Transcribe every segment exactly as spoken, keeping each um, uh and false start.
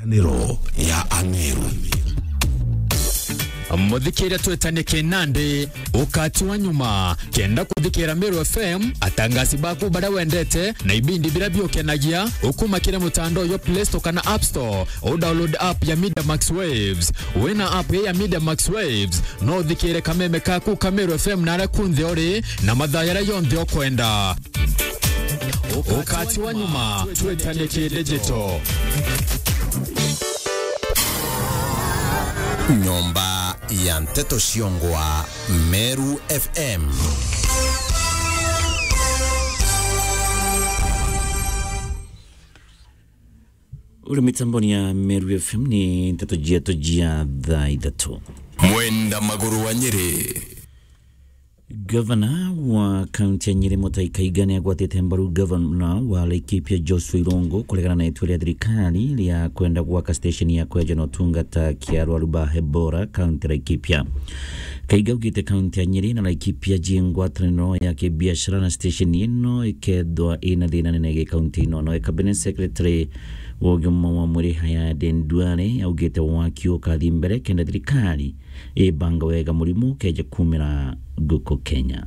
Ngwataniro ya Ameru. Muthikiria twetanie kinandi, ukati wa nyuma. Kenda kuthikira Meru F M, atangasi baku baria wendete, na ibindi biria biukenagia, ukuma kiri mutandao yo Play Store kana App Store, u download app ya Media Max Waves. Wina app ya Media Max Waves, no uthikire kameme kaku ka Meru F M na aria kunthe uri, na mathaa jaria jonthe ukwenda. Ukati wa nyuma, twetanie ki digital. Nyomba ya nteto ciongwa Meru F M. Uri mitamboni ya Meru F M ni nteto ciato cia thaa ithatu. Mwenda Maguru wa Nyeri. Gavana wa kaunti ya Nyeri Mutahi Kahiga ni agwatite mbaru gavana wa Laikipia Joshua Irungu kuregana na itua ria thirikari ria kwenda gwaka station ya kweja na utungata kia arwaru ba Ebola kaunti ya Laikipia. Kahiga augite kaunti ya Nyeri na Laikipia ji ngwataniro ya kibiashara na station ino ikethwa ina thina nene gi kaunti ino. Noe cabinet secretary wa ugima wa mwiri Hayade Nduale augite waki ukathi mbere kenda thirikari ibanga wega murimu ukeja kumira guku Kenya.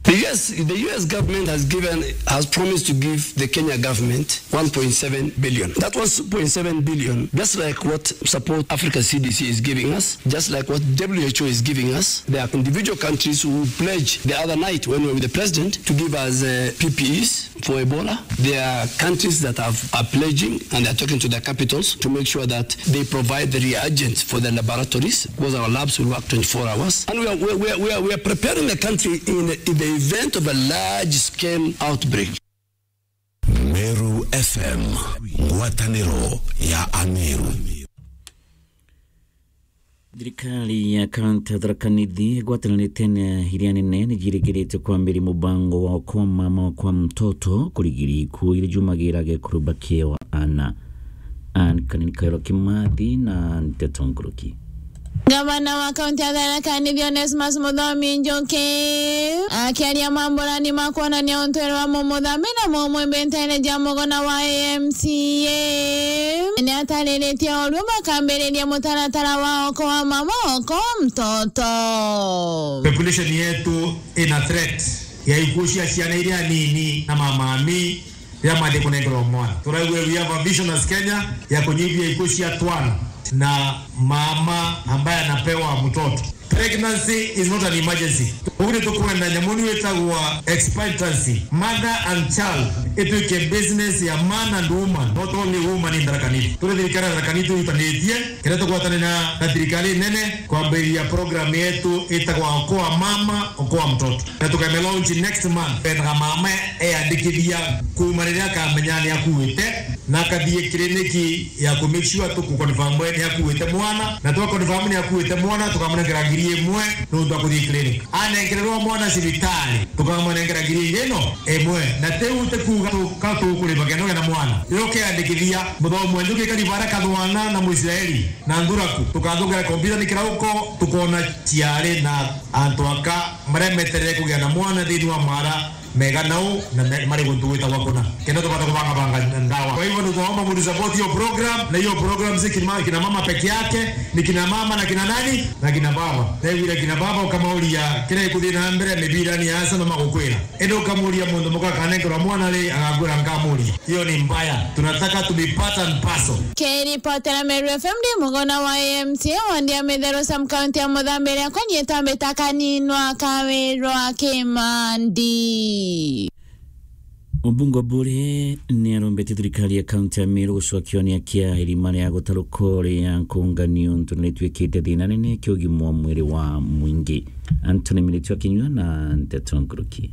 The U S, the U S government has given, has promised to give the Kenya government one point seven billion. That one point seven billion, just like what Support Africa C D C is giving us, just like what W H O is giving us. There are individual countries who pledged the other night when we were with the president to give us, uh, P P Es for Ebola. There are countries that have, are pledging and they are talking to their capitals to make sure that they provide the reagents for the laboratories, because our labs will work twenty-four hours. And we are, we are, we are, we are, we are preparing the country in, in the event of a large-scale outbreak. Meru F M, ngwataniro ya Ameru. Thirikari ya kaunti ya Tharaka Nithi igwatanirite na iria nene ni jirigirite kwambiria mubango wa Okoa Mama Okoa Mtoto kurigiria ikuo iria jumagira gekuru bakiewa ana. Ann Kanini Kairo Kimathi na nteto nkuruki. Gavana wa kaunti ya Tharaka Nithi Onesmus Muthomi Njuki akiaria mamburani ma kwonania untwiri wa mumuthambi na mumwimbi nteere ja mugona wa A M C A, ni atariritie urua bakambiriria mutaratara wa Okoa Mama Okoa Mtoto. Population yetu ina threat ya ikuo cia ciana iria nini na mamami riria mathi kunengerwa mwana. Turaigua we have a vision as Kenya ya kunyihia ikuo cia twana na mama ambaye anapewa mtoto. Pregnancy is not an emergency. Uguo ni tukwenda nyamu ni witagwa expectancy, mother and child, ituike business ya man and woman, not only woman in Tharaka Nithi. Turi thirikari ya Tharaka Nithi twirutanitie, kenda tugwatane na, na thirikari nene kwambiriria program yetu itagwa Okoa Mama, Okoa Mtoto. Na tukame launch next month. Bendaga mama eyandikithia kuuma riria akamenya ni akuite, na akathie kiriniki ya ku make sure tuku confirm ni akuite mwana, na twa confirm ni akuite mwana, tukamunengera ngiri imwe nuntu akuthie clinic. Anengererwa mwana cibitari, tukamunengera ngiri ingi ino imwe. Na tiu ti kuuga tu-, ka tukurimagia noge na mwana. Riria ukeyandikithia, muthomi wa Njuki kari bara kathwana na Muisraeli na nthuraku, tukathungera kompyuta ni kirauko, tukona ciari na antu aka maria meterere kugia na mwana thiini wa mara mega nau na me-, mari guntu gwitagwa kuna. Kenda tubata kubangabanga ndawa. Kwa hivyo, nitwaomba mutu support hiyo program, na hiyo program si kina, kina mama peke yake, ni kina mama na kina nani? Na kina baba. Tewire kina baba ukamauria, kira ikuthii na mbere mibirani ya asa no magukwira. Indi ukamuria mundu muka akanengerwa mwana ri, agakwira nkamuria. Hiyo ni mbaya. Tunataka to be part and parcel. Kiripotera Meru F M ndi mugona wa A M C A wandi ya Mitheru sub county ya Muthambi riakwa ni itambi ta Kaninwa Kawirwa Kimandi. Mubunge Obure ni arombete thirikari ya kaunti ya Meru gucokia onia kia irima ria gutaruka ria nkunga niuntu ni rituikite thina nene kia ugima wa mwiri wa mwingi. Anthony Miritu akinyua na nteto nkuruki.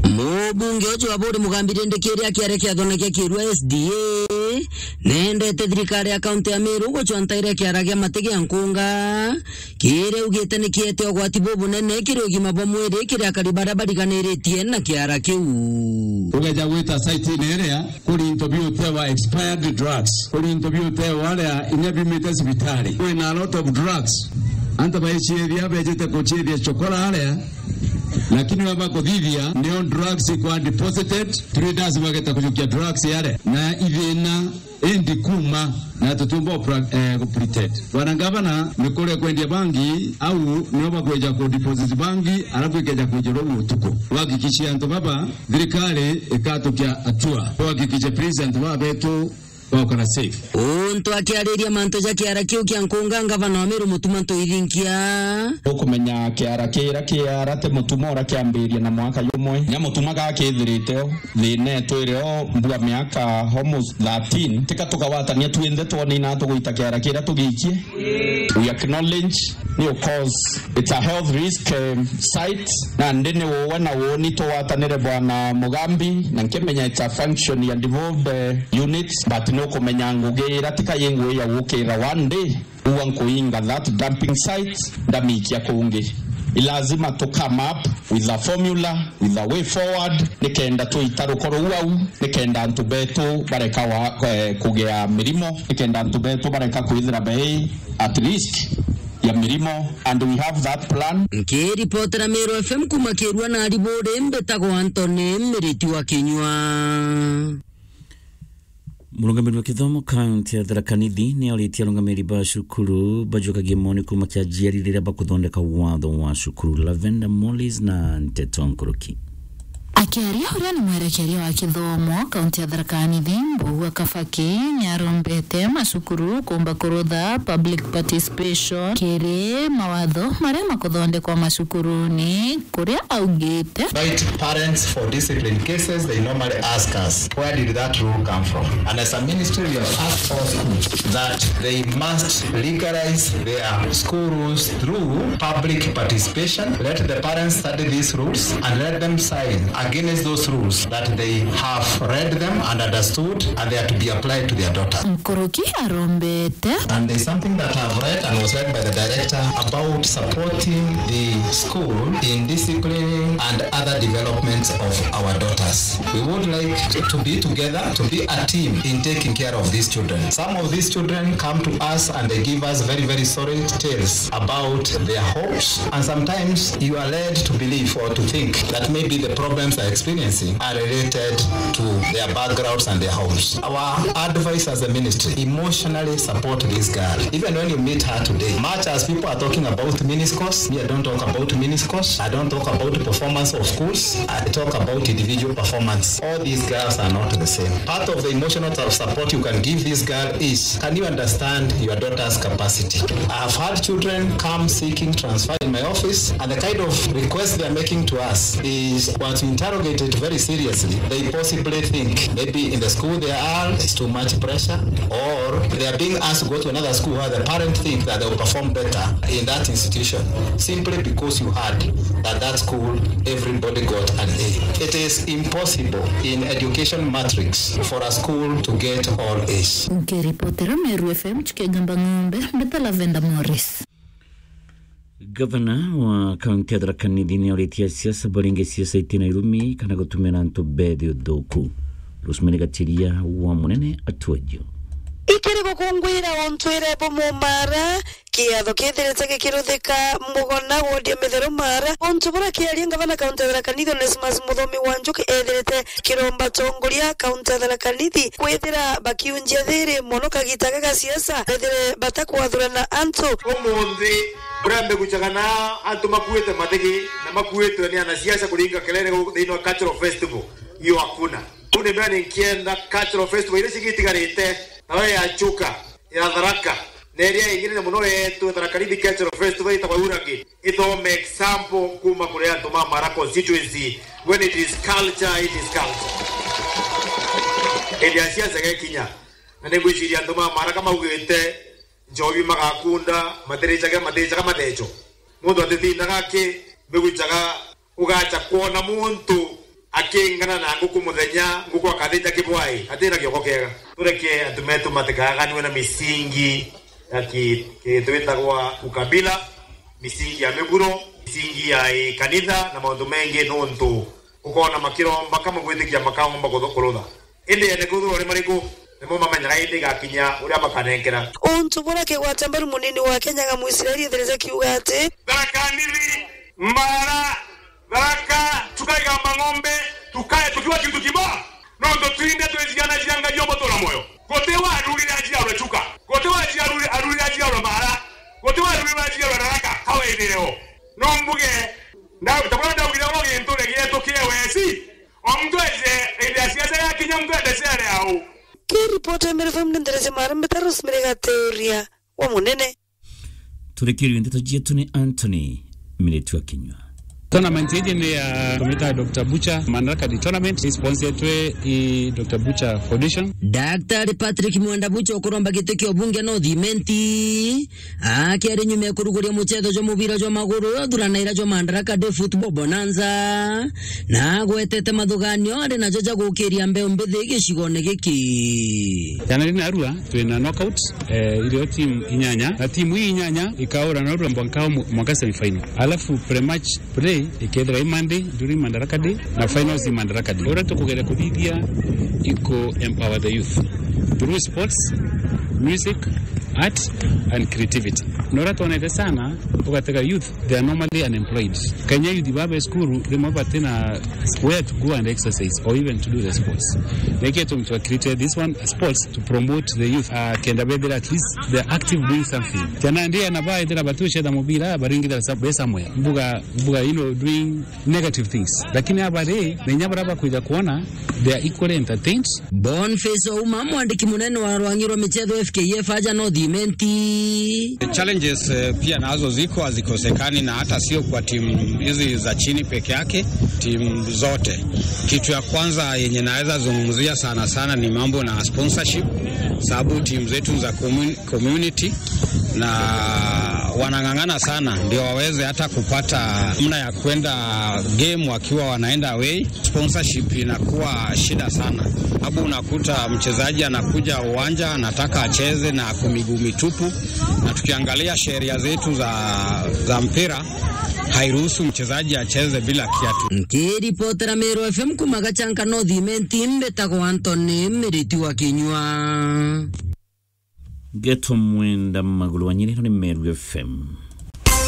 Mubunge ucio wa Buri Mugambi rindi kiria kiare kiathona kia Kirua S D A, nendete thirikari ya kaunti ya Meru gucwa ntaire kiara gia mati gia nkunga, kiria augite ni kiete ugwati bubunene kiri ugima bwa mwiri kiri akari baria bariganiritie na kiara kiu. Ugeja gwita site-ini iria, kuri into biutewa expired drugs, kuri into biutewa aria inya biumite cibitari. Kwina a lot of drugs. Antu baiciithia, bejite kuciithia chokora aria, lakini baba kuthithia, nio drugs ikwa deposited, traders bageta kujukia drugs aria. Na ithina indi kuma Na tutiumba ku pra-, eh, ku pretend. Bwana Gavana, ni kuria kwendia bangi, au nio bakweja ku deposit bangi, alafu ikeja kwijirwa utuku. Tuhakikishe antu baba, thirikari ikatukia hatua. Tuhakikishe please antu baba betu baukara safe. Untu akiariria mantu ja kiara kiu kia nkunga, ngavana wa Meru Mutuma Ntuithinkia. Ukumenya kiara kiria kiara ti Mutuma uria kiambiria na mwaka jumwe. Nya Mutuma gakithirite o. Thina itwire o mbua miaka almost thirteen, tika tukawatania twinthe twone ina tugwita kiara kiria tugiikie. We acknowledge, ni of course, it's a health risk, um, site, na ndi ni uwe na uuni tugwatanire Bwana Mugambi, na nkimenya it's a function ya devolved, uh, units, but ni ukumenya ngugi ira tika yi ngugi ya gukira one day. Ua nkuinga that dumping site, ndamikia kungi. I lazima to come up with a formula, with a way forward, nikenda twita rukoro ruu au, nikenda antu betu bareka wa, eh, kugia mirimo, nikenda antu betu bareka kwithira bei at risk ya mirimo, and we have that plan. Nkiripotera Meru F M kuma Kirua na Ariburi, mbitagwa Anthony Miriti wa Kinyua. Murungamiri wa kithomo kaunti ya Tharaka Nithi ni auritie arungamiri ba cukuru bajukagie moni kuuma kia aciari riria bakuthondeka watho wa cukuru. Lavender Mollis na Nteto Nkuruki. Akiaria uria ni mwerekeria wa kithomo kaunti ya Tharaka Nithi, Mbugua Kabaki, ni arombete macukuru kuumba kurutha public participation kiri mawatho maria makuthondekwa macukuruni, kuria augite. Invite parents for discipline cases, they normally ask us, "Where did that rule come from?" And as a ministry, we have asked all schools that they must legalize their school rules through public participation. Let the parents study these rules and let them sign against those rules that they have read them and understood and they are to be applied to their daughters. Nkuruki arombete. And there's something that I've read and was read by the director about supporting the school in disciplining and other developments of our daughters. We would like to be together, to be a team in taking care of these children. Some of these children come to us and they give us very, very sorry tales about their homes. And sometimes you are led to believe or to think that maybe the problems they're experiencing are related to their backgrounds and their homes. Our advice as a ministry, emotionally support this girl. Even when you meet her today, much as people are talking about miniskirts, me, I don't talk about miniskirts. I don't talk about performance of schools. I talk about individual performance. All these girls are not the same. Part of the emotional support you can give this girl is, can you understand your daughter's capacity? I have had children come seeking transfer in my office, and the kind of request they are making to us is, once we interrogate it very seriously, they possibly think maybe in the school they are, it's too much pressure, or they are being asked to go to another school where the parents think that they will perform better in that institution, simply because you heard that that school, everybody got an A. It is impossible in education matrix for a school to get all A's. Nkiripotera Meru F M, Chikegamba Ng'ombe, mbita Lavender Morris. Gavana wa kaunti ya Tharaka Nithi ni auritie asiasa baringe siasa itina irumi kana gutumira antu bethi uthuku. Rosemary Gachiria wa Munene atwejio. Ikiri gukunguira untwire bumumara, kiatho kithirite gikiruthika Mugona wodi ya Mitheru Mara. Untu bura kiaria ngavana kaunti ya Tharaka Nithi Onesmus Muthomi wa Njuki ethirite kiromba tongoria kaunti ya Tharaka Nithi kwithira bakiunjia thiri mono kagita ga gasiasa, bethire batakwathurana antu. Umunthi, buria mbigucaga na antu makuite mathigi na makuitwe ni anasiasa kuringa kelele thiini wa cultural festival, iyo hakuna. Kuu ni mbere ninkienda cultural festival iria cigitigarite, nayo ya Chuka, ya Tharaka, na iria ingine na muno yetu Tharaka Nithi Cultural Festival itagwa Uragi, ithome example kuma kuri antu ma Mara constituency. When it is culture, it is culture. Hĩndĩ ya siasa gekinya, na ningwiciria antu ma Mara kamaugite, njobi magakunda, matiricagira, matiricaga matheco. Muntu atitindaga aki, mbigucaga ugacha kwona muntu akingana na nguku muthenya, nguku akathija kibwai, atina kioko kiega. Tureke antu metu matikaganwe na misingi ya ki-, ki-, twitagwa ukabila, misingi ya miguro, misingi ya, eh, kanitha na maundu mengi, nuntu ukona makiromba kama gwitikia makaomba kuthu-, kurutha. Indi ene kwithirwa ni mariku, nimo mamenyaga indi igakinya uria makanenkera. Untu bura kigwata mbaru munini wa Kenya ga Muisraeli ethirite kiuga ati, Tharaka Nithi, Mara, Tharaka, tukaiga mang'ombe, tukae tukiwa kitu kimoja. Nontu twinthe twi ciana cia Ngai ubutura mwoyo. Guti warurire aciarwe Chuka. Guti waciarure-, arurire aciarwe Mara. Guti warurire aciarwe Tharaka, kawaithireo. No mbuge, nda-, tabura ndaugire oro gintu regietu kia wesi. O muntu eje, indi ya siasa yakinya, muntu ende ciare au. Kiripoti ya Meru F M ni nderece mara mbita Rosemary Gaturia wa Munene. Turikirio ndeto cietu ni Anthony Miritwa Kinyua. Tournament iji ni ya tumita Doctor Butcher Madaraka Day Tournament, isponsoretwe i Doctor Butcher Foundation. Daktari Patrick Mwenda Butcher ukuromba giti kia ubunge North Imenti akiari nyuma ya kuruguria mucetho jwa mubira jwa maguru uthuranaira jwa Madaraka Day Football Bonanza, na agwetete mathuganio ari najo ja gukiria mbeu mbithi gicigone giki. Jana rina arua twina knockout, eh, irio team inyanya, na team ii inyanya ikaura na arua mwanka mu-, mwanka semi final. Alafu pre-match play ikethira i Monday during Madaraka Day, na finals i Madaraka Day. Uria tukugeria kuthithia iku empower the youth through sports, music, art and creativity. Na uria twonete sana, ugatega youth, they are normally unemployed. Kenya youth baba school, rimwe batina where to go and exercise or even to do the sports. Niki tumtwa create this one, sports, to promote the youth, uh, kenda bethira at least they are active doing something. Jana ndia na baethira batucetha mubira, baringithira sa-, be somewhere. Mbuga, mbuga, you know, doing negative things. Lakini aba ri, na inya bara bakwija kuona, they are equally entertained. Boniface Ouma, mwandiki munene wa rwangi rwa michetho F K F aja North Imenti. The challenges, eh, pia nazo ziko, hazikosekani, na hata sio kwa timu hizi za chini peke yake, timu zote. Kitu ya kwanza yenye naweza zungumzia sana sana ni mambo na sponsorship, sababu timu zetu za commun-, community, na wanang'ang'ana sana ndio waweze hata kupata namna ya kwenda game wakiwa wanaenda away. Sponsorship inakuwa shida sana, sababu unakuta mchezaji anakuja uwanja anataka acheze na ako miguu mitupu, na tukiangalia sheria zetu za, za mpira hairuhusu mchezaji acheze bila kiatu. Nkiripotera Meru F M kuma Gachanka North Imenti, mbitagwa Anthony Miriti wa Kinyua. Ngeto Mwenda Magulu wa Nyiri, ino ni Meru F M.